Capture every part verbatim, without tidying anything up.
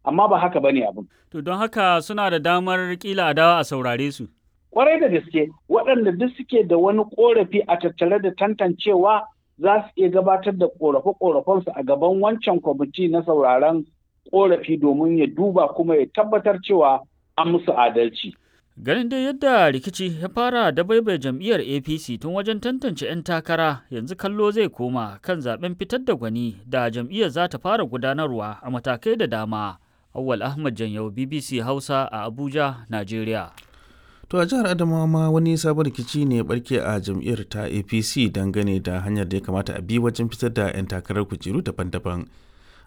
Amma ba haka bane abin. To don haka suna da damar kila a dawo a saurare su. Kwarai da gaske, waɗanda duk suke da wani korafi a tattare da tantancewa za su iya gabatar da korafe-korafensu a gaban wancan kwamiti na sauraron korafi domin ya duba kuma ya tabbatar cewa an musu adalci. Ganin dai yadda rikici ya fara da baibai jam'iyyar A P C tun wajen tantance 'yan takara, yanzu kallo zai koma kan zaben fitar da gwani da jam'iyyar za ta fara gudanarwa a matakai da dama. Awwal Ahmad Janyau, B B C Hausa a Abuja, Najeriya. To a jihar Adamawa ma wani sabon rikici ne ya barke a jam'iyyar ta A P C dangane da hanyar da ya kamata a bi wajen fitar da 'yan takarar kujeru daban-daban.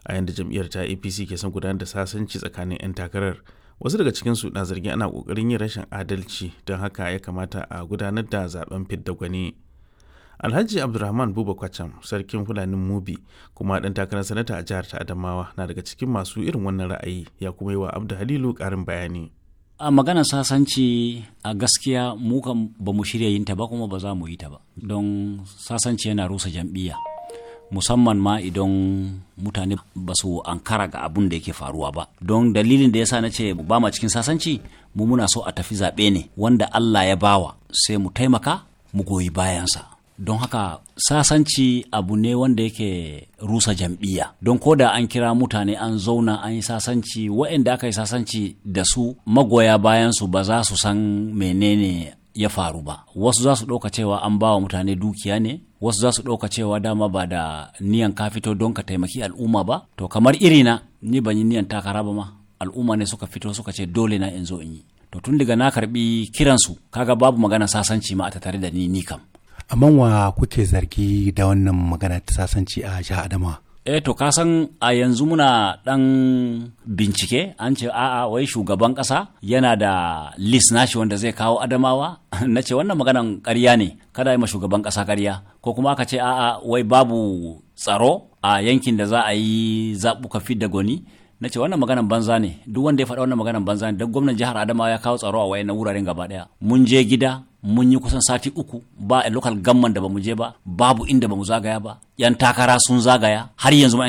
A yanda jam'iyyar ta A P C ke son gudanar da sasanci tsakanin 'yan takarar, wasu daga cikinsu na zargin ana kokarin yin rashin adalci, don haka ya kamata a gudanar da zaben fidda gwani. Alhaji Abdulrahman Buba Kwacham, sarkin Fulanin Mubi kuma ɗan takarar sanata a jihar ta Adamawa, na daga cikin masu irin wannan ra'ayi, ya kuma yi wa Abdu Halilu ƙarin bayani. A maganar sasanci, a gaskiya mu kam ba mu shirya yin ta ba, kuma ba za mu yi ta ba, don sasanci yana rusa jam'iyya, musamman ma idan mutane ba su ankara ga abun da yake faruwa ba. Don dalilin da yasa na ce ba ma cikin sasanci, mu muna so a tafi zaɓe ne, wanda Allah ya bawa sai mu taimaka mu goyi bayansa. Don haka sasanci abu ne wanda yake rusa jam'iyya, don ko da an kira mutane an zauna an yi sasanci, waɗanda aka yi sasanci da su, magoya bayan su ba za su san menene ya faru ba. Wasu za su ɗauka cewa an ba wa mutane dukiya ne, wasu za su ɗauka cewa dama ba da niyan ka fito don ka taimaki al'umma ba. To kamar irina, ni ban yi niyan takara ba ma, al'umma ne suka fito suka ce dole na in zo in yi. To tun daga na karbi kiransu, kaga babu magana sasanci ma a tattare da ni, ni kam. Amma wa kuke zargi da wannan magana ta sasanci a jihar Adamawa? Eh, to ka san a yanzu muna dan bincike, an ce a'a, wai shugaban kasa yana da list nashi wanda zai kawo Adamawa. Na ce wannan maganan ƙarya ne, kada yi ma shugaban kasa ƙarya. Ko kuma aka ce a'a, wai babu tsaro a yankin da za a yi zaɓuka fidda gwani. Na ce wannan maganan banza ne, duk wanda ya faɗa wannan maganan banza ne, don gwamnan jihar Adamawa ya kawo tsaro a wayannan wuraren gaba ɗaya. Mun je gida, mun yi kusan sati uku, ba a local government da bamu je ba, babu inda bamu zagaya ba. Yan takara sun zagaya, har yanzu ma yan